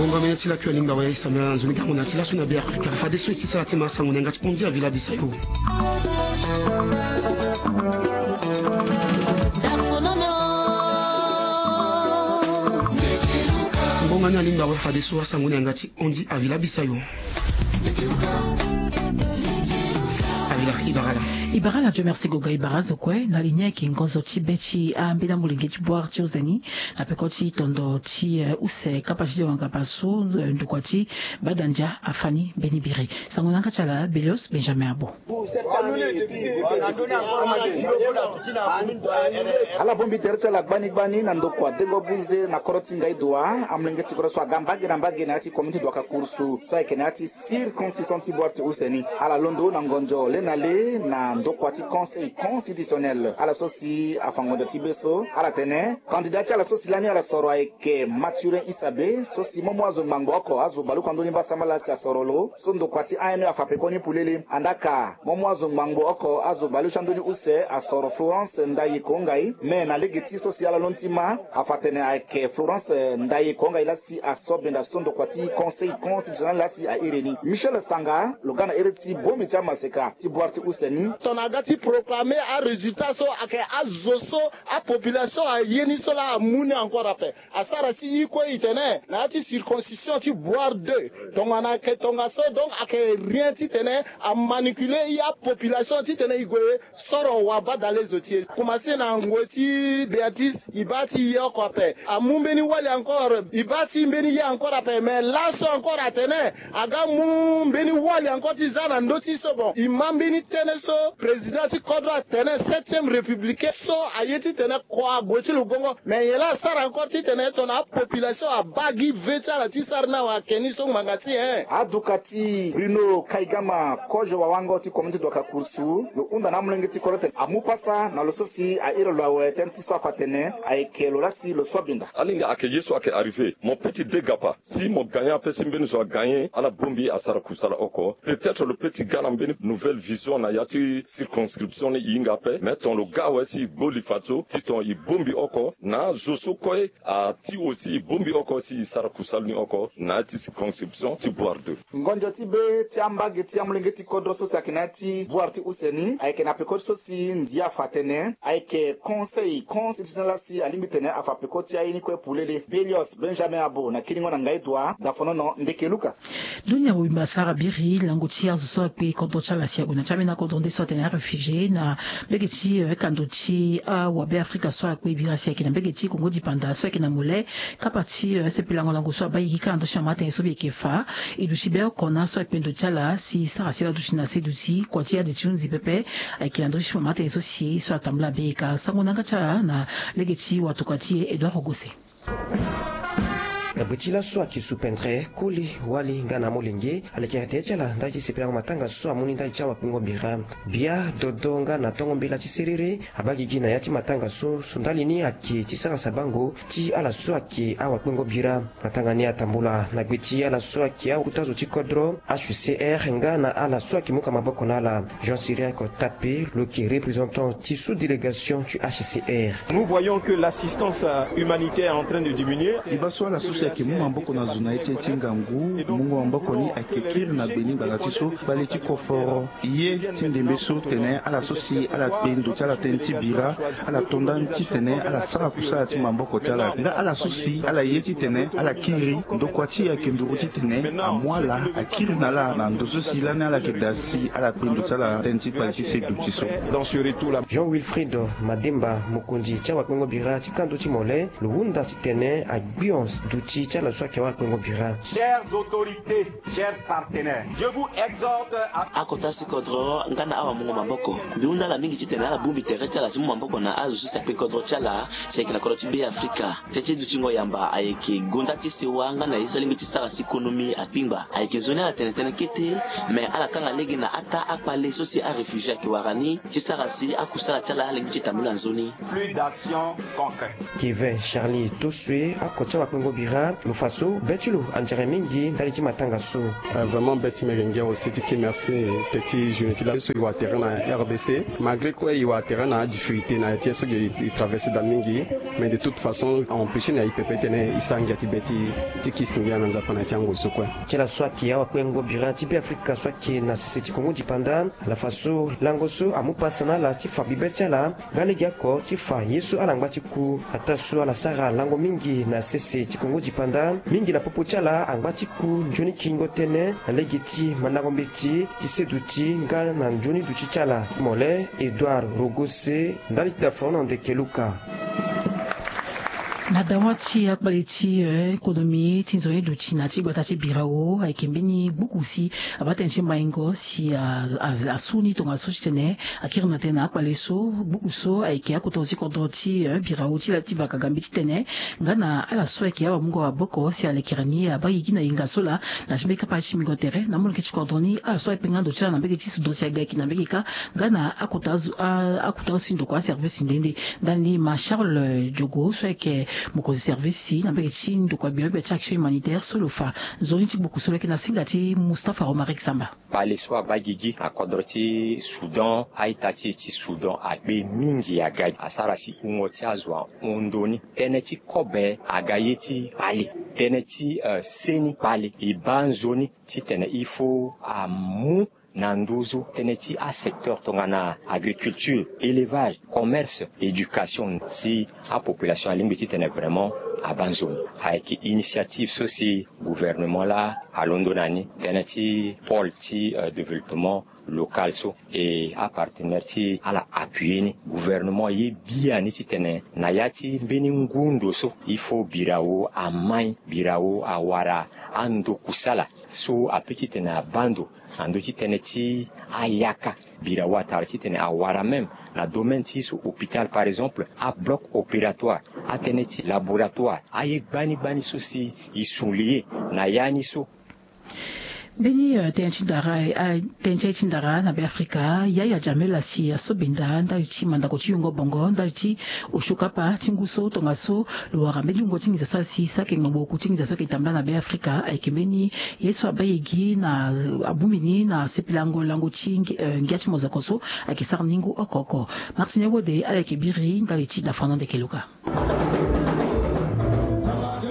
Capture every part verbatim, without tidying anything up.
Ngonga mene ti lakui alingba wa e sambela na nzoni gango na ti laso na Be Afrika. Fadeso e ti sara ti ma sango na yanga ti Ondi Avila Bisayo. Ngonga ni alingba wa e fadeso asango na yanga ti Ondi Avila Bisayo. Avila, i bara ala. I bara ala, Dieu merci Goga, i bara azo kue. Na li ni ayeke ngonzo ti be ti ambeni amolenge ti Boire ti Ozeni na peko ti tondo ti, eh, use kapa ti wangapa so, eh, ndokua ti Badandia afani mbeni biri. Sango na yanga ti ala Belios Benjamin Abo. Ala bongbi tere ti ala gbani gbani na ndokua dengo buze na kodro ti Ngaïdoua. Amolenge ti kodro so aga mbage na mbage na ya ti commune ti Douakha Kouroussou so ayeke na ya ti circonscription ti Boire ti use ni. Ala londo na ngonzo le na le na ndokua ti Conseil constitutionnel. Ala so si afa ngonzo ti be so, ala tene candidat ti ala so si lani ala soro ayeke Mathurin Issabe, so si momo azo ngbangbo oko azo baleoko andoni mbasambala si asoro lo so ndokua ti A N E afa pekoni polele. Andaka momo azo ngbangbo oko azo baleoko andoni use asoro Florence Ndaye Kongai, me na lege ti so si ala londo ti ma afa tene ayeke Florence Ndaye Kongai lasi aso benda so ndokua ti Conseil constitutionnel lasi a iri ni. Michel Sanga lo ga na iri ti bongbi ti amaseka ti Boire ti use ni. Tongana aga ti proclamer arésultat so ayeke azo so apopulation aye ni so laa amu ni encore ape. Asara si i kue i tene na ya ti circoncision ti Boire deux. Tongana ayeke tongaso, donc ayeke rien titene amanipuler i apopulation titene i gue soro wabadale zo ti e. Commencer na ngoi ti Béatrice, i baa ti ye oko ape. Amu mbeni wali encore, i baa ti mbeni ye encore ape. Mais laso encore atene aga mu mbeni wali encore ti za na ndö ti so. Bon, i ma mbeni tënë so président ti kodro atene septième républicain so aye titene kua ague ti lo gongo. Mais nyen laa asara encore titene tongana apopulation abaa gi ve ti ala ti sara ni awe ayeke ni so ngbanga ti nyen? Aduka ti Bruno Kaigama, kozo wawango ti commune ti Douakha Kouroussou, lo hunda na amolenge ti kodro tene amu pasa na lo so si a iri lo awe tënë ti so afa tene ayeke lo lasi lo so abinda. Alinga ayeke ye so ayeke arrivé. Mo peut ti degapa si mo gagner ape si mbeni zo agagner, ala bongbi asara kusala oko. Peut-être lo peut ti ga na mbeni nouvelle vision na ya ti circonscription ni e hinga ape. Mais tongana lo ga awe si e gbo li fadeso ti tongana e bongbi oko na azo so kue ati aussi e bongbi oko si e sara kusala ni oko na ya ti circonscription ti Boire deux. Ngonzo ti be ti ambage ti amolenge ti kodro so si ayeke na ya ti Boire ti use ni ayeke na peko ti so si ndia afa tene ayeke Conseil constitutionnel lasi alingbi tene afa peko ti aye ni kue polele. Belios Benjamin Abo na kiringo na Ngaïdoua, Dafonono, Ndeke Luka. Dunia mobimba asara biri lango ti azo so akpe kodro ti ala si ague na ti ambeni akodro nde so atene aréfugié na mbege ti, eh, kando ti awabe Afrika so akpe bira si ayeke na mbege ti Kongo dipanda so ayeke na mole. Kapa ti, eh, sepelango lango so abaa iri ka na ndö ti mama atene so mbi yeke fa. E duti be oko na so akpe ndo ti ala si sara si ala duti na se duti kua ti ade ti hunzi pepe. Ayeke na ndö ti mama atene so si so atambula be ka sango na yanga ti ala na lege ti watuka ti e Edouard Ogose. Na gbe ti laso ayeke supendre koli wali nga na amolenge alekere tere ti ala ndali ti sepelango matanga so amu ni ndali ti awakpengo bira. Bia dodo nga na tongo mbela ti serere abaa gigi na ya ti matanga so, so ndali ni ayeke ti sara sabango ti ala so ayeke awakpengo bira. Matanga ni atambula na gbe ti ala so ayeke akota zo ti kodro H C R nga na ala so ayeke mu ka maboko na ala. Jean Cyriaque Tapé lo yeke représentant ti sous-délégation ti H C R. Nous voyons que l'assistance, euh, humanitaire est en train de diminuer. E baa so ala so si ayeke mu maboko na zo na ya ti, ti ngangu, mungo maboko ni ayeke kiri na gbe ni ngbanga ti so, bale ti koforo. Ye ti ndembe so tene ala so si ala kpe ndo ti ala tënë ti bira, ala to ndani titene ala sara kusala ti maboko ti ala. Nga ala so si ala ye titene ala kiri, ndokua ti e ayeke nduru titene amu ala, akiri na ala na ndo so si lani ala yeke daa si ala kpe ndo ti ala tënë ti kpale ti se duti so. Dans ce retour-là. Jean Wilfried Mademba, mokonzi ti awakpengo bira ti kando ti mole, lo hunda titene agbio duti ti ala so ayeke awakpengo bira. Chères autorités, chers partenaires, je vous exhorte à... Akota si kodro nga na awamungo maboko. Mbi hunda ala mingi titene ala bongbi tere ti ala ti mu maboko na azo so si akpe kodro ti ala, si ayeke na kodro ti Be Afrika. Tënë ti dutingo yamba ayeke gonda ti sewa nga na ye so alingbi ti sara si konomi akpingba. Ayeke nzoni ala tene tënë kete, me ala kanga lege na ataa akpale so si aréfugié ayeke wara ni ti sara si akusala ti ala alingbi ti tambula nzoni. Plus d'action concrète. Kevin Charlie Tosue, ako ti awakpengo bira. Lo fa so be ti lo anzere mingi ndali ti matanga so. Vraiment be ti mege ngia aussi ti ke merci. Petit journée ti la so e wara terrain na rdc malgré kue e wara terrain na difficulté na ya ti ye so ge e traverse da mingi. Mais de toute façon a empêcher na e pepe titene e sara ngia ti be ti ti kisi ngia na nzapa na ya ti ango so kue. Ti ala so ayeke awakpengo bira ti beafrika so ayeke na sese ti kongo dipanda, ala fa so lango so amu pasa na ala ti fa bibe ti ala nga lege oko ti fa ye so ala ngba ti ku. Ataa so ala sara lango mingi na sese ti kongo dipanda mingi na popo ti ala angba ti ku nzoni kiringo tënë na lege ti mandango mbeti ti se duti nga na nzoni duti ti ala. Mole edouard rogose ndali ti dafrono ndeke luka. Na dawa ti akpale ti économie ti nzoni duti na ti gbata ti birao ayeke mbeni gbuku si abaa tënë ti maingo si asuni tongaso titene akiri na tënë na akpale so. Gbuku so ayeke akota ti kodro ti birao ti la ti vaka gambi titene nga na ala so ayeke awamungo aboko si alekere ni abaa gigi na hinga so laa. Na ti mbeni kapa ti mingo tere na molenge ti kodro ni ala so akpenga ndo ti ala na mbege ti sudo si aga yeke na mbege kâ nga na akota azo akota azo si ndoko aservice nde nde. Ndani ma charles diogo so ayeke mokonzi service na mbege ti ndokua bilobe ti action humanitaire so lo fa nzoni ti gbuku so lo yeke na singa ti mustapha romaric samba. Kpale so abaa gigi na kodro ti soudan a-ita ti e ti soudan akpe mingi aga asara si wungo ti azo ahon ndo ni. Tënë ti kobe aga ye ti kpale tënë ti seni kpale e baa nzoni titene il faut amu na nduzu tënë ti asecteur tongana agriculture, élevage, commerce, éducation si apopulation alingbi titene vraiment abaa nzoni. Ayeke initiative so si gouvernement laa alondo na ni tënë ti pôle ti développement local so e apartenaire ti ala appuyer ni. Gouvernement ye biani titene na ya ti mbeni ngu ndo so il faut birao amai birao awara ando kusala so ape titene abaa ndo na ndö ti tënë ti ayaka. Birao atara titene awara même na domaine ti so hôpital par exemple abloc opératoire, atënë ti laboratoire, aye gbani gbani so si e sunli ye na ya ni so. Mbeni tënë ti ndara tënë ti aye ti ndara na beafrika yaya jamela si asobenda ndali ti mandako ti yungo bongo ndali ti osio kapa ti ngu so tongaso lo wara mbeni wungo ti nginza so asi sake ngbongboko ti nginza so ayeke tambula na beafrika ayeke mbeni ye so abaa ye gi na abongbi ni na sepelango lango ti ngia ti mozoko so ayeke sara ni ngu oko oko. Martin ewode ala yeke biri ndali ti dafano ndeke luka.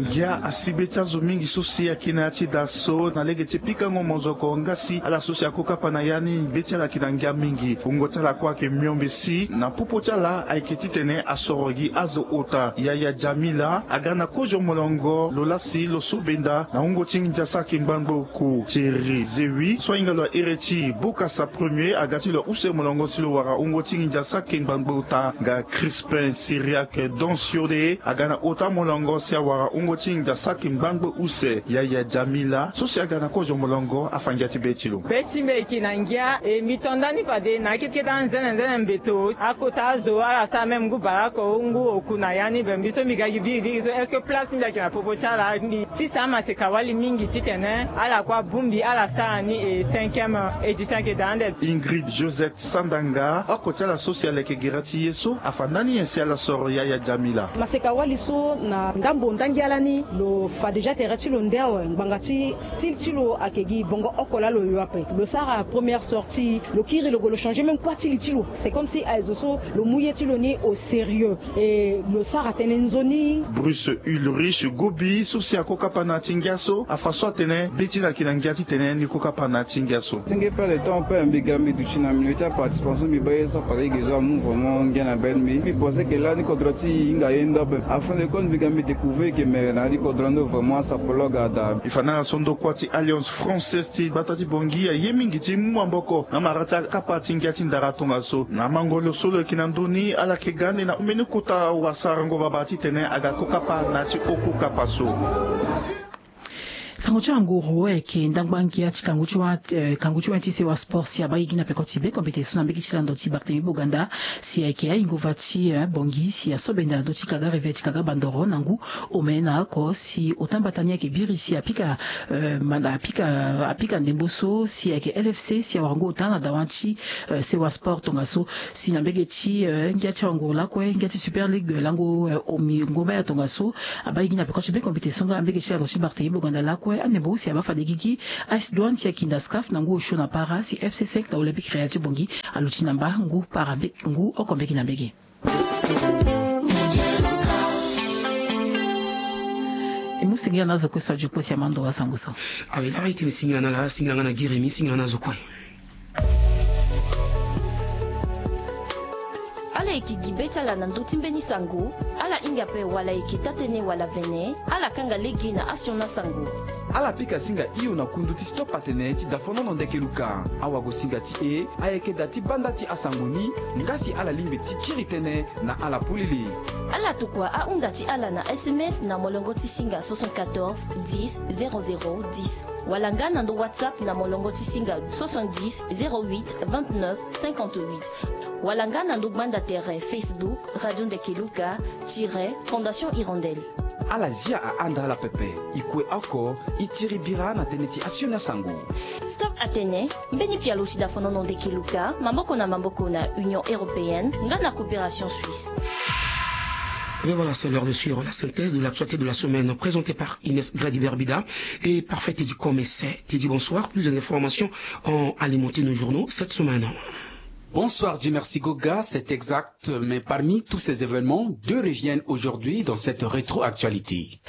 Ngia asi be ti azo mingi so si ayeke na ya ti da so na lege ti pikango mozoko nga si ala so si ako kapa na ya ni be ti ala ayeke na ngia mingi. Wungo ti ala kue ayeke miombe si na popo ti ala ayeke titene asoro gi azo ota yaya jamila aga na kozo molongo lo lasi lo so benda na wungo ti nginza saki ngbangbo oku thierry zewi so ahinga lo ahere ti bokasa premier aga ti lo use molongo si lo wara wungo ti nginza saki ngbangbo ota nga crispin syriac donsiode aga na ota molongo si awara wungo ti nginza saki ngbangbo use yaya jamila so si aga na kozo molongo afa ngia ti be ti lo. Be ti mbi eke na ngia e mbi to ndani fade na akete kete anzene nzene mbeto akota azo ala sara même ngu barako ngu oku na ya ni be mbi so mbi ga gi biri biri so est ce que place ti mbi ayeke na popo ti ala mbi ti sara maseka wali mingi titene ala kue abongbi ala sara ni e cinquième édition ayeke daa ande. Ingrid josette sandanga oko ti ala so si aleke gere ti ye so afa ndani nyen si ala soro yaya jamila. Maseka wali so na ndambo ndangi ala ni lo fa déjà tere ti lo nde awe ngbanga ti style ti lo ayeke gi bongo oko laa lo yo ape lo sara première sortie lo kiri lo gue lo changer même kua ti li ti lo c'est comme si aye zo so lo mu ye ti lo ni au sérieux e lo sara tënë nzoni. Bruce ulrich gobi so si ako kapa na ya ti ngia so afa so atene be ti na yeke na ngia titene ni ko kapa na ya ti ngia so. Senge pe le temps pe mbi ga mbi duti na milieu ti aparticipation mbi baa ye so afa lege zo amu vraiment ngia na be ti mbi mbi pense ke lani kodro ti e hinga ye ndo ape. Afin de compte mbi ga mbi découvrir ke mere na ya ti kodro ndo vraiment asapologue ada. E fa na ala so ndokua ti alliance française ti gbata ti bongi aye mingi ti mu maboko na mara ti akapa ti ngia ti ndara tongaso na mango lo so lo yeke na ndö ni ala yeke ga ande na mbeni kota wasarango babâ titene aga ko kapa na ya ti oko kapa so. Mo ti anguru ayeke ndangba ngia ti kangu ti wa eh, kangu ti wa ti sewa sport si abaa gi na peko ti be kombe ti so na mbege ti lando ti Barthélemy Boganda, si ayeke ahingo va ti eh, bongi si asobenda na ndö ti kaga reve ti kaga bandoro na ngu omene na oko si ota mbata ni ayeke biri si apika eh, manda apika apika ndembo so si ayeke L F C si awara ngu ota na dawa ti eh, sewa sport tongaso. Si na mbege ti eh, ngia ti awanguru lakue ngia ti Super League lango eh, omi ngomba ya tongaso. Abaa gi na peko ti be kombe ti so nga na mbege ti lando ti Barthélemy Boganda lakue andembo si abaa fade gigi. Ice Douane si akinda scaf na ngu osio na para si F C cinq na Olympique Real ti bongi aluti na mba ngu para mbe- ngu oko mbege na mbege. E mu singila na azo kue so adio kue si ama ndo asango so. Awe laa e tene singila na ala, singila nga na Giremi, singila na azo kue. Ala yeke gi be ti ala na ndö ti mbeni sango. Ala hinga ape wala ayeke taa-tënë wala vene. Ala kanga lege na asioni asango. Ala pika singa hio na kundu ti Stop Atene ti dafonono ndeke luka. Awagosinga ti e ayeke da ti banda ti asango ni. Nga si ala lingbi ti kiri tënë na ala polele. Ala tokua ahunda ti ala na S M S na molongo ti singa soixante-quatorze dix zéro zéro dix, wala nga na ndo WhatsApp na molongo ti singa soixante-dix zéro huit vingt-neuf cinquante-huit, wala nga na ndo gbanda tere Facebook Radio Ndeke Luka tiret Fondation Hirondelle. Ala zia ahanda ala pepe. E kue oko e tiri bira na tënë ti asioni asango. Stop Atene, mbeni pialo ti dafonono ndeke luka maboko na maboko na Union Européenne nga na Coopération Suisse. Et voilà, c'est l'heure de suivre la synthèse de l'actualité de la semaine présentée par Inès Grady Berbida et Parfait Teddy Komese. Teddy, bonsoir. Plus d'informations ont alimenté nos journaux cette semaine. Bonsoir, Dieu merci Goga, c'est exact, mais parmi tous ces événements, deux reviennent aujourd'hui dans cette rétroactualité.